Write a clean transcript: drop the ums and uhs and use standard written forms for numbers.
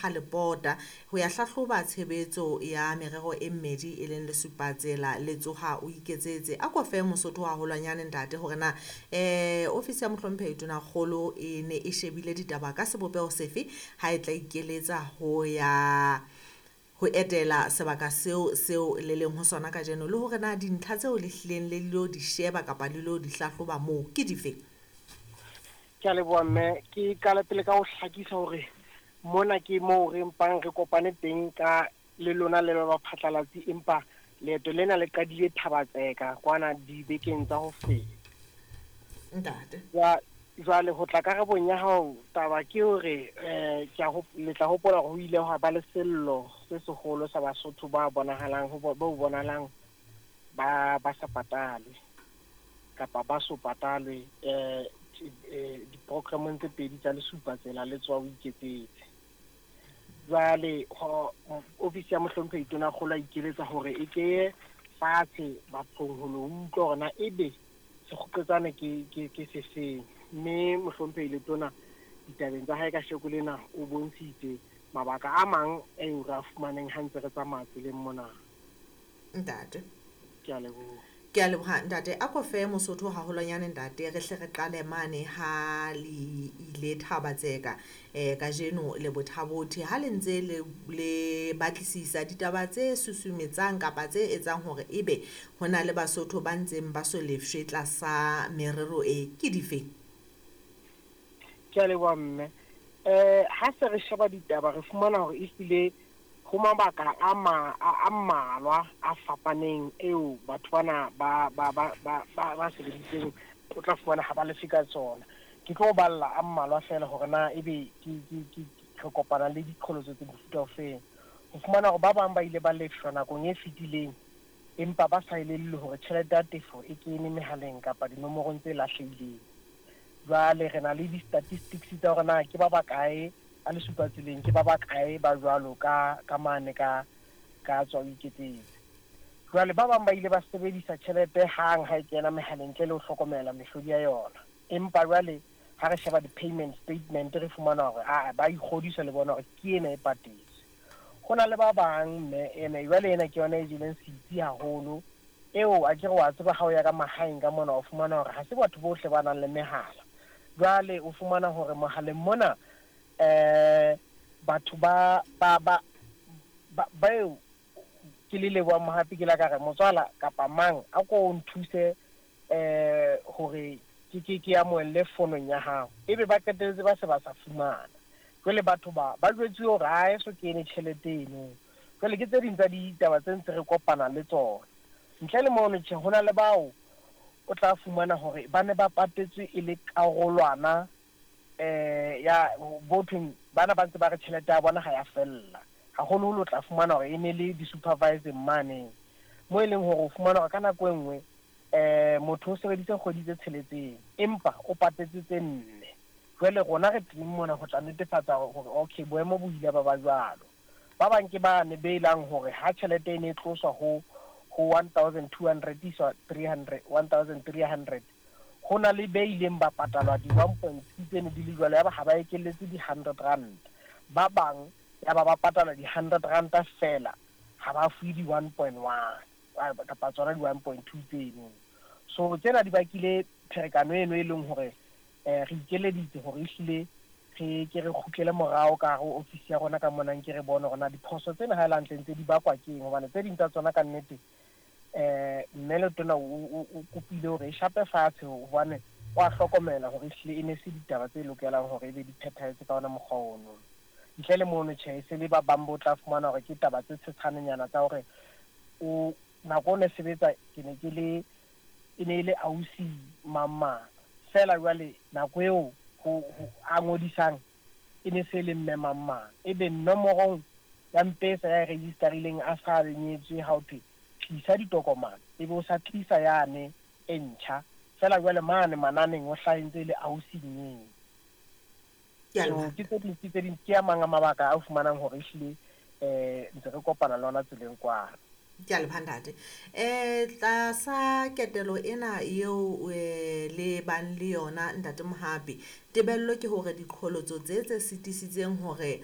Ha Lepota ho ya hlahloba tshebetso ya merero e mmedi e leng Lesupatsela le Tsoha o Iketsetse. A ko fe Mosotho haholwanyane ntate hore na ofisi ya Mohlomphehi Tonakgolo e ne e shebile ditaba ka sebopeho sefe ha e tla ikeletsa ho ya ho etela sebaka seo seo le leng ho sona kajeno, le hore na dintlha tseo le hlileng le lo di sheba kapa le lo di hlahloba moo ke dife? Ke a leboha mme. Ke qala pele ka ho hlakisa hore mona ke moo re mpang re kopane teng ka le lona le ba baphatlalatsi, empa leeto lena le qadile Thabatseka kwana dibekeng tsa ho feta. Ntate. Jwale ho tla karabong ya hao, taba ke hore ke a le tla hopola hore ho ile hwa ba le sello se seholo sa Basotho ba bonahalang ho bo bonahalang ba sa patalwe kapa ba so patalwe diprogramong tse pedi tsa Lesupatsela le Tsoha o Iketsetse. Jwale ofisi ya Mohlomphehi Tonakgolo a ikeletsa hore e keye fatshe bathong ho lo utlwa hore na ebe sekgoqetsane ke sefeng. Mme Mohlomphehi Letona ditabeng tsa hae ka sheko lena o bontshitse mabaka a mang eo re a fumaneng ha ntse re tsamaya tseleng mona. Ntate. Ke a leboha. Ke a leboha ntate. A ko fe Mosotho haholwanyane ntate, re hle re qale mane ha le ile Thabatseka kajeno le Bothabothe, ha le ntse le batlisisa ditaba tse susumetsang kapa tse etsang hore ebe ho na le Basotho ba ntseng ba so lefshwe tlasa merero e, ke dife? Ke a leboha mme. Ha se re sheba ditaba re fumana hore ehlile ho mabaka a mmalwa a fapaneng eo batho bana ba sebeditseng o tla fumana ha ba lefe ka tsona. Ke tlo balla a mmalwa fela hore na ebe ke re kopana le diqholotso tse mofuta ofeng. Ho fumana hore ba bang ba ile ba lefshwa nakong e fetileng empa ba sa elellwe hore tjhelete ya tefo e kene mehaleng kapa dinomorong tse lahlehileng. Jwale re na le di-statistics tsa hore na ke ba bakae a Lesupatseleng, ke ba bakae ba jwalo ka mane ka Tswa o Iketsetse. Jwale ba bang ba ile ba sebedisa tjhelete hang ha e kena mehaleng ntle le ho hlokomela mehlodi ya yona. Empa jwale ha re sheba di-payment statement re fumana hore a ba ikgodisa le bona hore ke ena e patetswe. Ho na le ba bang mme ene jwale ena ke yona e jeleng setsi haholo eo a ke re wa tseba ha o ya ka mahaeng ka mona o fumana hore ha se batho bohle ba nang le mehala. Jwale o fumana hore mohaleng mona batho ba eo ke le leboha Mohapi ke la ka re motswala kapa mang a ko nthuse hore ke amohelle fonong ya hao, ebe ba qetelletse ba se ba sa fumana. Jwale batho ba jwetsuwe hore ha eso kene tjhelete eno. Jwale ke tse ding tsa ditaba tse ntse re kopana le tsona. Ntle le mono tjhe, ho na le bao o tla fumana hore ba ne ba patetswe e le karolwana ya bothong bana ba ntse ba re tjhelete ya bona ha ya fella. Haholoholo o tla fumana hore e ne le di-supervising mane mo e leng hore o fumana hore ka nako e nngwe motho o sebeditse kgwedi tse tsheletseng empa o patetse tse nne. Jwale rona re teng mona ho tla netefatsa hore okay boemo bo ile ba ba jwalo. Ba bang ke bane be lang hore ha tjhelete e ne e tloswa ho 1200 iswa 300 1300, ho na le be ileng ba patalwa di 1.6 tsene di le jwalo, ya ba ha ba ekelletse di 100 rand. Ba bang ya ba ba patala di 100 rand fela, ha ba fuwe di 1.1 kapa tsona di 1.2 tseno. So tsena di bakile pherekano eno e leng hore re ikeleditse hore ehlile re ke re kgutlele morao ka hare ho ofisi ya rona ka mona, nke re bone hore na diphoso tsena ha e le hantle ntse di bakwa ke eng, hobane tse ding tsa tsona ka nnete mme Letona o kopile hore e shape fatshe hobane o a hlokomela hore ehlile e ne se ditaba tse lokelang hore ebe di phethahetse ka ona mokgwa ono. Ntle le mono tjhe, e se le ba bang bo tla fumana hore ke taba tse tshetshwanenyana tsa hore o nako o ne sebetsa ke ne ke le e ne e le ausi mang mang fela, jwale nako eo ho a ngodisang e ne se le mme mang mang, ebe nomorong ya Mpesa ya e registerileng a sa nyetswe, ha o thwe tlisa ditokomane ebe o sa tlisa yane e ntjha fela, jwale mane mananeng o hlahentse le ausi nyeng. So ke tse ding ke a mang a mabaka a fumanang hore ehlile ntse re kopana le ona tseleng kwana. Ke a leboha ntate. Tlasa ketelo ena eo le bang le yona ntate Mohapi, tebello ke hore diqholotso tse sitisitseng hore